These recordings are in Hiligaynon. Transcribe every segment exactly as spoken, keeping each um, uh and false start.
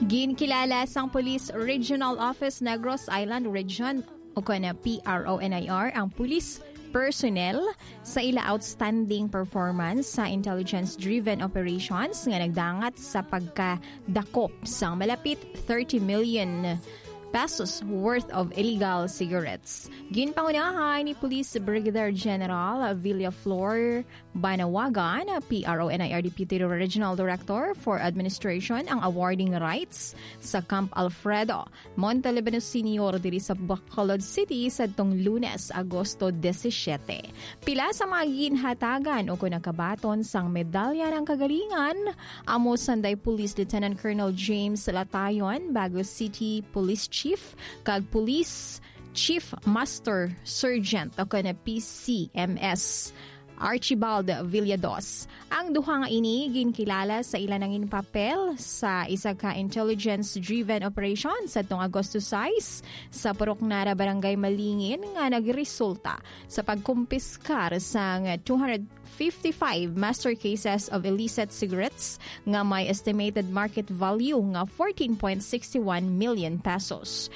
Ginkilala sang Police Regional Office Negros Island Region, o kon P R O N I R, ang police personnel sa ila outstanding performance sa intelligence-driven operations nga nagdangat sa pagkadakop sang malapit thirty million pesos worth of illegal cigarettes. Ginpangunahan ni Police Brigadier General Villaflor Banawagan, P R O N I R Deputy Regional Director for Administration, ang awarding rights sa Camp Alfredo Montalibano Senior diri sa Bacolod City sadtong Lunes, Agosto disisiete. Pila sa mga ginhatagan o kon nakabaton sang Medalya ng Kagalingan amo sanday Police Lieutenant Colonel James Latayon, Bago City Police Chief, kag Police Chief Master Sergeant o kon P C M S Archibald Villados. Ang duha nga ini ginkilala sa ila nangin papel sa isa ka intelligence-driven operation sadtong Agosto sais sa Purok Nara, Barangay Malingin, nga nagresulta sa pagkumpiskar sang two hundred fifty-five master cases of illicit cigarettes nga may estimated market value nga fourteen point six one million pesos.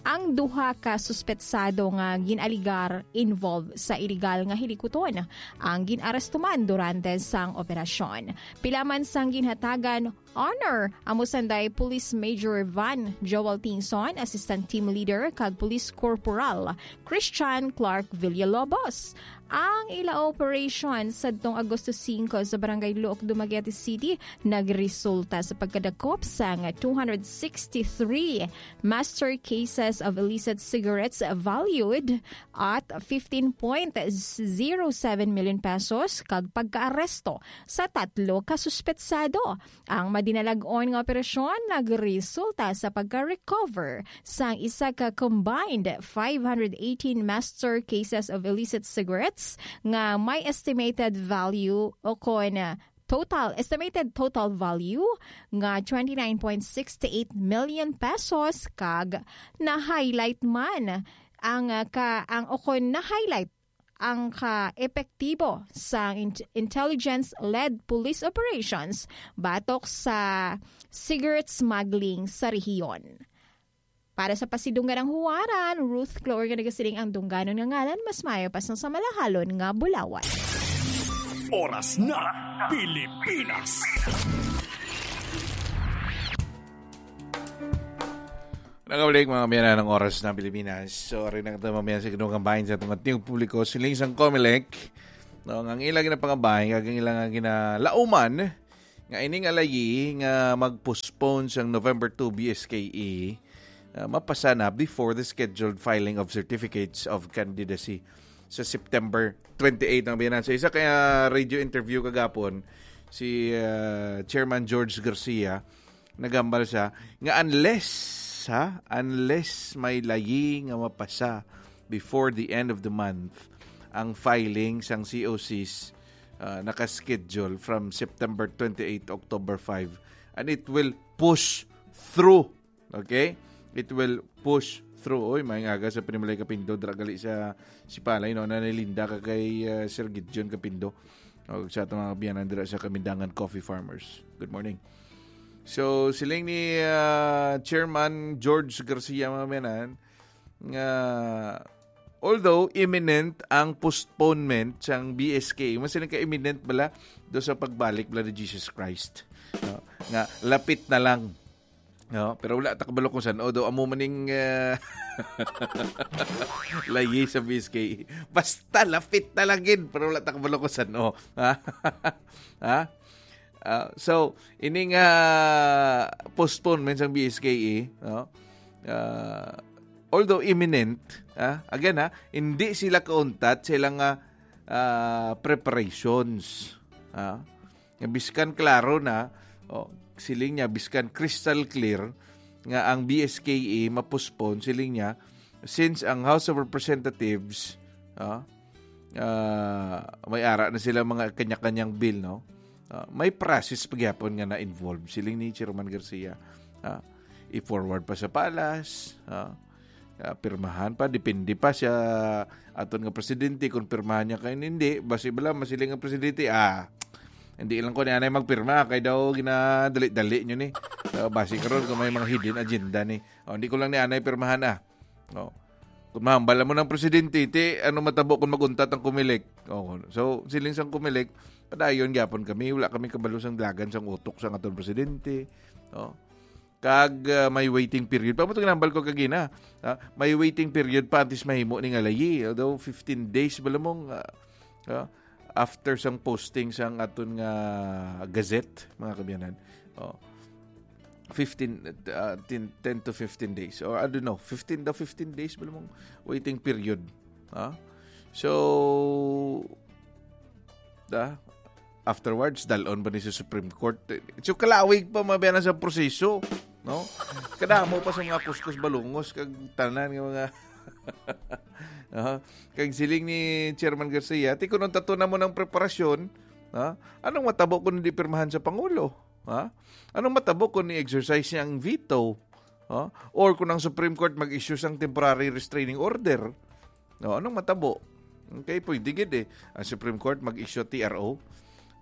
Ang duha ka suspetsado nga gin-aligar involved sa iligal nga hilikuton ang gin-aresto man durante sang operasyon. Pila man sang ginhatagan honor amo sanday Police Major Van Joel Tingson, Assistant Team Leader, kag Police Corporal Christian Clark Villalobos. Ang ila operation sadtong Agosto singko sa Barangay Luok, Dumaguete City, nagresulta sa pagkadakop sang two hundred sixty-three master cases of illicit cigarettes valued at fifteen point zero seven million pesos kag pagkaaresto sa tatlo ka suspetsado. Ang madinalag-on nga operasyon nagresulta sa pagka-recover sang isa ka combined five hundred eighteen master cases of illicit cigarettes nga may estimated value o kon, ah, total, estimated total value nga twenty-nine point six eight million pesos, kag na-highlight man ang, ah, ka, ang, o kon na-highlight ang ka-epektibo sang int-, intelligence-led police operations batok sa cigarette smuggling sa rehiyon. Para sa pasidunggan ang huwaran, Ruth Clore nga nagasiling ang dungganon nga ngalan, mas maayo pa sang sa malahalon nga bulawan. Oras na, Pilipinas. Nakabalik, mga kaabyanan, ang Oras ng Pilipinas. So, ari na kita, mga kaabyanan, sa kinukambahin sa atong ating publiko, siling sang Comelec, no, nga ang ila ginapangabahin, kag ang ila nga ginalauman, nga ini nga layi nga mag-postpone sang November two B S K E, ah, mapasa na before the scheduled filing of certificates of candidacy sa September twenty-eight, mga kaabyanan. Sa isa ka, ah, radio interview kagapon, si, ah, Chairman George Garcia, naghambal siya nga unless, ha, unless may layi nga mapasa before the end of the month ang filing sang C O Cs, ah, naka-schedule from September twenty-eight to October five, and it will push through. Okay? It will push through. Oy, may nga aga sa Panimalay Kapindo, dira gali sa Sipalay, no? Nanay Linda, kag kay, ah, Sir Gideon Kapindo. O, sa atong mga kaabyanan dira sa Kamindangan Coffee Farmers. Good morning. So, siling ni, ah, Chairman George Garcia, mga kaabyanan, nga although imminent ang postponement sang B S K, mas siling ka imminent bala do sa pagbalik bala ni Jesus Christ, no? Nga lapit na lang, no? Pero wala ta kabalo kung san-o do amo maning, ah, layi sa B S K. Basta lapit na lang gid, pero wala ta kabalo kung san-o. Ha? Ha? Ah, so, ini nga postponement sang B S K E, no? Ah, although imminent, ah, again, ha, hindi sila kauntat sa ilang, ah, ah, preparations, ah. Nga biskan klaro na, oh, siling niya, biskan crystal clear nga ang B S K E ma-postpone, siling niya, since ang House of Representatives, ah, ah, may ara na sila mga kanya-kanyang bill, no? Ah, may process pa gyapon nga na-involve, siling ni Chairman Garcia. Ah, i-forward pa sa Palace, ah, ah, pirmahan pa, depende pa siya aton nga presidente kung pirmahan niya kay hindi. Basi bala masiling ang presidente, ah, hindi lang ko ni anay magpirma kay daw ginadali-dali niyo ni. Ah, basi karon kung may mga hidden agenda ni. Oh, hindi ko lang ni anay pirmahan, ah. Oh. Kung mahambal mo ng presidente, ti, ano matabo kung maguntat ang Comelec? Oh, so, siling sang Comelec, padayon gyapon kami, wala kami kabalo sang dagan sang utok sang aton presidente. Oh. Kag, ah, may waiting period. Pamutong nambal ko kagina. Ah, may waiting period pa antes mahimo ni nga layi. Although fifteen days ba lamang, ah, ah, after sang posting sang aton nga gazette, mga kabyanan. Oh. fifteen, ah, ten, ten to fifteen days. Or I don't know, fifteen daw, fifteen days ba lamang waiting period. Ha? So, da, afterwards, dalon ba ni sa Supreme Court? So, kalawig pa mabiyana sa proseso, no? Kadamo pa sa mga kuskus balungos kag tanan nga mga Ah, kag siling ni Chairman Garcia, ti kunon tato na mo ng preparasyon, ha? Anong matabo kung hindi pirmahan sa Pangulo? Ha? Anong matabo kung ni-exercise niya ang veto? Ha? Or kung ang Supreme Court mag-issue sang temporary restraining order? No, anong matabo? Okay, pwede gid eh. Ang Supreme Court mag-issue T R O.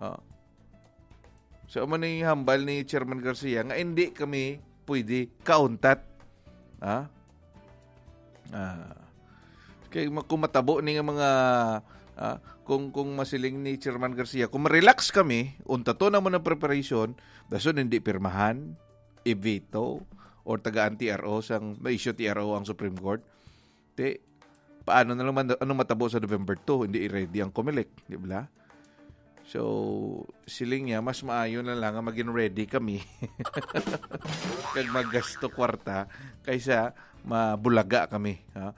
Ha? So, amo ni hambal ni Chairman Garcia nga hindi kami pwede kauntat. Ha? Ah. Kay ma-, kung matabo ni nga mga, ah, kung, kung masiling ni Chairman Garcia, kung ma-relax kami, untato na mo ng preparation, dason hindi pirmahan, i-veto, or tagaan T R O sang, ma-issue T R O ang Supreme Court. Te, paano na naman, ano matabo sa November two? Hindi i-ready ang Comelec, di ba? So, siling niya, mas maayo na lang nga maging ready kami kag maggasto kwarta kaysa mabulaga kami, ha?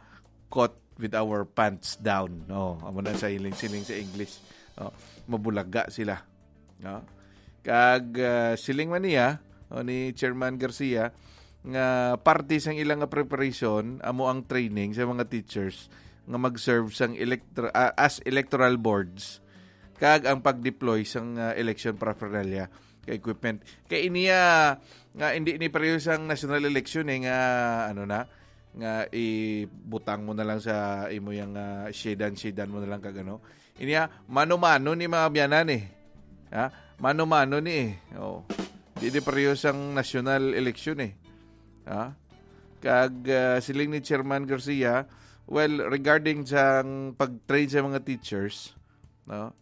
Caught with our pants down. Oh, amo na sa siling, siling sa English. Oh, mabulaga sila. No? Kag, ah, siling man niya, oh, ni Chairman Garcia, nga parte sang ilang nga preparation amo ang training sa mga teachers nga mag-serve sang electro-, ah, as electoral boards kag ang pag-deploy sang, ah, election paraphernalia ka equipment. Kay iniya nga hindi ni pareho sang national election eh, nga ano na, nga ibutang mo na lang sa imo yang, ah, shedan-shedan mo na lang kag ano. Iniya, mano-mano ni mga biyanan eh. Ha? Mano-mano ni eh. Oh. Di di pareho sang national election eh. Ha? Kag, ah, siling ni Chairman Garcia, well, regarding sang pag-train sa mga teachers, no?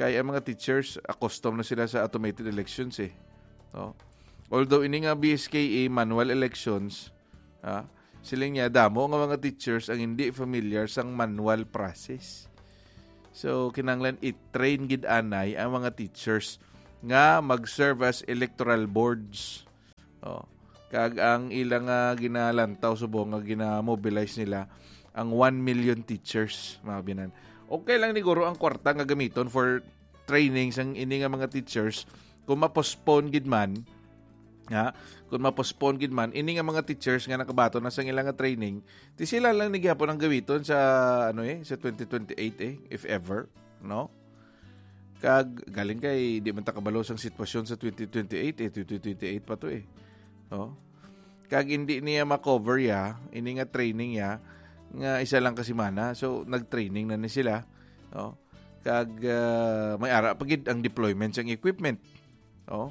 Kay ang mga teachers, accustomed na sila sa automated elections eh. No? Although ini nga B S K A manual elections, ah, siling niya, damo nga mga teachers ang hindi familiar sang manual process. So, kinahanglan i-train gid anay ang mga teachers nga mag-serve as electoral boards. Oh. Kag ang ilang, ah, ginalantaw subong nga gina-mobilize nila ang one million teachers, mga binan. Okay lang ni guro ang kwarta nga gamiton for training sang ini nga mga teachers kung ma-postpone gid man, ha? Kung ma-postpone gid man ini nga mga teachers nga nakabaton na sang ilang nga training, ti sila lang ni gihapon ang gamiton sa, ano eh, sa twenty twenty-eight eh, if ever, no? Kag galing kay di man ta kabalo sang sitwasyon sa twenty twenty-eight eh, twenty twenty-eight pa to eh. Oh. Kag hindi niya ma-cover ya, ini nga training ya nga isa lang ka semana. So nag-training na ni sila. Oh. Kag, ah, may ara pa gid ang deployment sang equipment. Oh.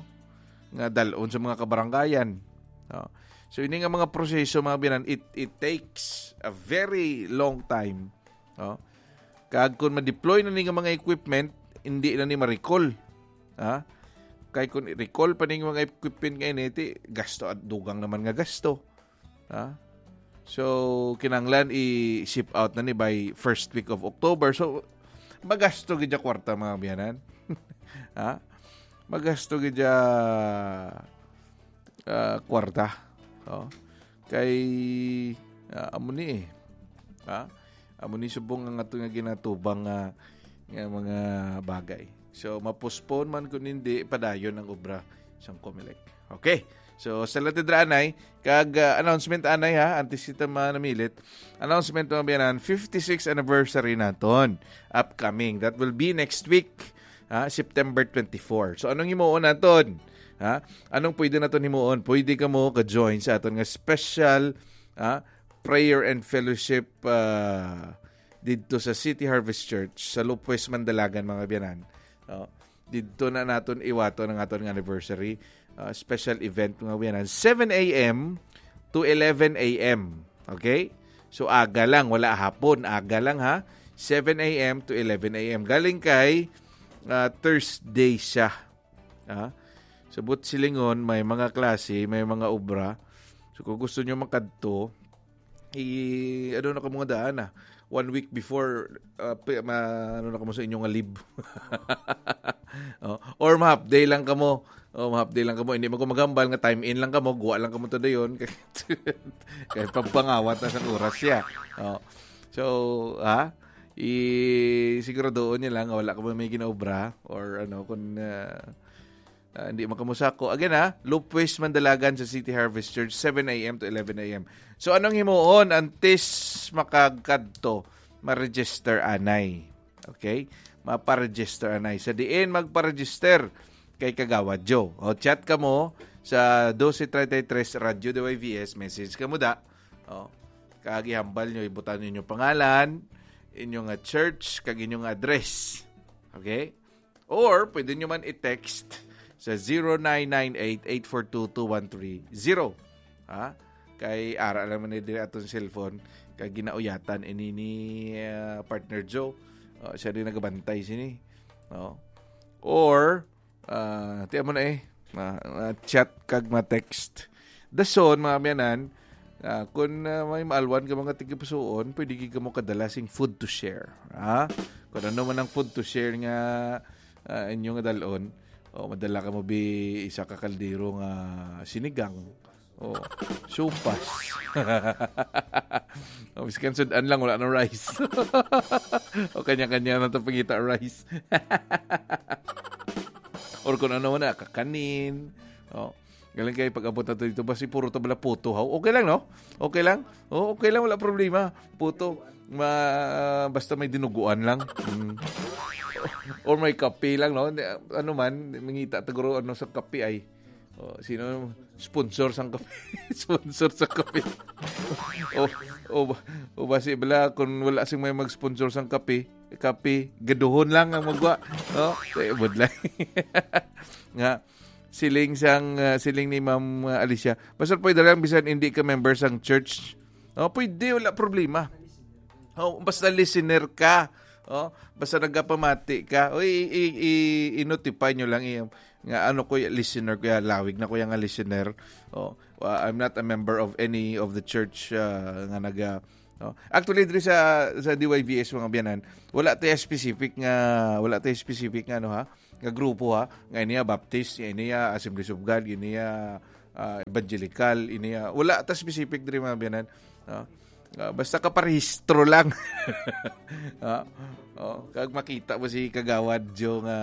Nga dalon sa mga kabarangayan. Oh. So ini nga mga proseso, mga binan, it, it takes a very long time. Oh. Kag kung ma-deploy na ni nga mga equipment, hindi na ni ma-recall. Ha? Kay kung i-recall pa ning mga equipment nga ini, ti gasto at dugang naman nga gasto. Ha? So, kinahanglan i-ship out na ni by first week of October. So, magasto gid ya kwarta, mga biyanan. Ha? Magasto gid ya, ah, kwarta. Oh. Kay, ah, amo ni eh. Ha? Amo ni subong ang ato nga ginatubang nga, nga mga bagay. So, ma-postpone man kun hindi, padayon ang obra sang Comelec. Okay. So, sa latidra anay, kag, ah, announcement anay ha, antes kita manamilit. Announcement, mga biyanan, fifty-sixth anniversary naton. Upcoming. That will be next week, ha, September twenty-four. So, anong himuon naton? Ha? Anong pwede naton himuon? Pwede kamo ka-join sa aton nga special, ha, prayer and fellowship, ah, didto sa City Harvest Church sa Lopez, Mandalagan, mga biyanan. Oh, didto na naton iwaton ang aton nga anniversary. ah, special event, mga kaabyanan, seven a m to eleven a m. Okay? So, aga lang, wala hapon, aga lang, ha? Seven a m to eleven a m. Galing kay, ah, Thursday siya. Ha? Sa buot silingon, may mga klase, may mga obra. So, kung gusto nyo makadto, i-, ano na kamo nga daan, ah? One week before, ah, pi-, ma-, ano na kamo sa inyo nga leave. Oh, or ma-half day lang kamo. Oh, ma-half day lang kamo. Hindi man ko maghambal nga time in lang kamo, guwa lang kamo to dayon. Kay pagpangawat na sa oras siya. Oh. So, ha? I-, siguraduhon niya lang nga wala kamo may ginaobra or ano, kung, ah, ah, hindi man kamo sako. Again, ha, Lupwis Mandalagan sa City Harvest Church, seven a m to eleven a m. So, anong himuon? Antes makagkadto, ma-register anay. Okay? Mapa-register anay. Sa diin magpa-register kay Kagawad Joe. O, chat kamo sa doce treinta y tres Radyo D Y V S, message kamo da. O, kag ihambal nyo, ibutang nyo inyong pangalan, inyong nga church, kag inyong nga address. Okay? Or, pwede nyo man i-text sa zero nine nine eight eight four two two one three zero. Ha? Kay ara lang man ni diri atong cellphone, kay ginauyatan ini ni, ah, partner Joe. Oh, siya din nagabantay sini. Oh. Or, ah, tiyan mo na eh. Ma, ma-chat kag ma-text. Dason, mga miyanan, ah, kung, ah, may maalwan ka mga tigipusuon, pwede gid kamo kadala sing food to share. Ha? Kung ano man ang food to share nga, ah, inyo nga dalon, o madala ka mo bi isa ka kaldero nga sinigang. O, supas. O, biskan sudan lang, wala na rice. O, kanya-kanya na to pangita rice. Or kung ano na, kakanin. O, galing kayo pag-abot na to dito, basi puro tabla puto, haw? Okay lang, no? Okay lang? O, okay lang, wala problema. Puto. Ma, basta may dinuguan lang. Mm. Or may kape lang, no? Ano man, mangita taguro ano sa kape ay. O, sino sponsor sang kape? Sponsor sa kape. O, o, o basi bala, kung wala sing may mag-sponsor sang kape, kape, gaduhon lang ang magwa. No? Kay budlay. Nga, siling sang, ah, siling ni Ma'am, ah, Alicia, basta pwede lang bisan hindi ka member sang church. O, pwede, wala problema. O, basta listener ka. O, basta nagapamati ka. O, i-, i-, i-, i-notify nyo lang, i-, nga ano ko, listener ko, ya, lawig na ko yung nga listener. O, uh, I'm not a member of any of the church, uh, nga naga, no? Actually, diri sa, sa D Y V S, mga biyanan, wala tayo specific nga, wala tayo specific nga, ano, ha, nga grupo, ha, nga ini ya Baptist, nga ini ya Assemblies of God, ini ya, ah, Evangelical, ini ya, wala ta specific diri, mga biyanan. No? Ah, basta kaparehistro lang. Ah, oh, kag makita mo si Kagawad Joe nga,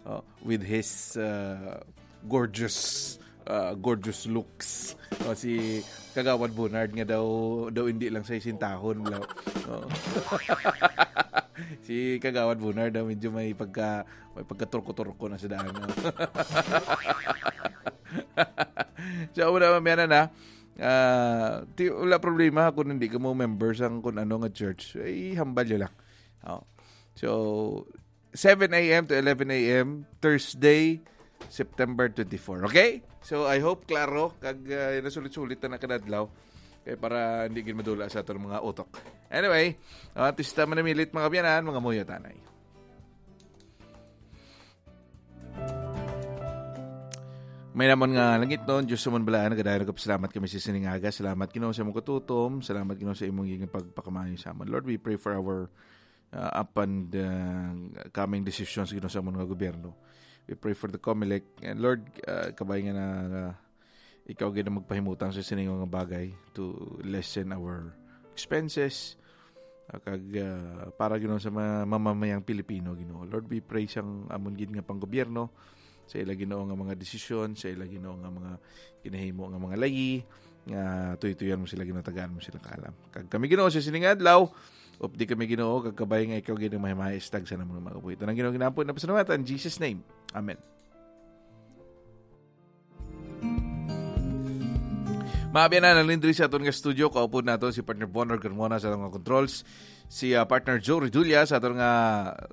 oh, with his, ah, gorgeous, ah, gorgeous looks. Oh, si Kagawad Bernard nga daw, daw hindi lang sa isintahon, bro. Oh. Si Kagawad Bernard daw medyo may pagka, may pagkaturko-turko na sa daan, no? So, wala man, na. Ah, ti-, wala problema kung hindi ka mo member sang kung ano nga church. Ay, hambal nyo lang. Oh. So, seven a m to eleven a m, Thursday, September twenty-four. Okay? So, I hope klaro kag, ah, nasulit-sulit na nakadadlaw. Kay para hindi gid madula sa atong mga utok. Anyway, ah, artista manamilit, mga biyanan, mga muyo tanay. May namon nga langitnon, Diyos sa amon balaan, nagadayon nagapasalamat kami sa sining aga. Salamat, Ginoo, sa imong katutom. Salamat, Ginoo, sa imong giging pagpakamaayo sa amon. Lord, we pray for our, uh, up and, uh, coming decisions, Ginoo, sa amon nga gobyerno. We pray for the Comelec. And Lord, uh, kabay nga na, uh, ikaw gid ang magpahimutang sa sining nga bagay to lessen our expenses. Ah, kag, ah, para, Ginoo, sa mga mamamayang Pilipino, Ginoo. Lord, we pray sang amon gid nga panggobyerno, sa ila, Ginoo, nga mga desisyon, sa ila, Ginoo, nga mga ginahimo nga mga layi, nga tuytuyan mo sila, Ginoo, tagaan mo sila kaalam. Kag kami, Ginoo, sa sining adlaw, updi kami, Ginoo, kag kabay nga ikaw gid ang mahimaestag sa namon nga mga kabuhi. Ito ang Ginoo ginaampo, napasalamatan in Jesus' name. Amen. Mga biyanan, nalindri sa aton nga studio, kaupod nato si partner Bonner Carmona sa aton nga controls, si, ah, partner Joe Redulla sa aton nga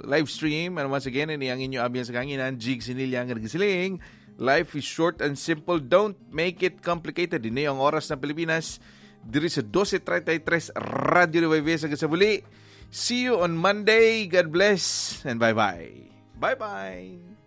live stream. And once again, ini ang inyo abyan sa kanginan, Jig Sinilya, nga nagsiling, Life is short and simple. Don't make it complicated. Ini ang Oras ng Pilipinas. Diri sa dose treinta y tres, Radyo Nueva Ecija sa Gazabuli. See you on Monday. God bless and bye-bye. Bye-bye.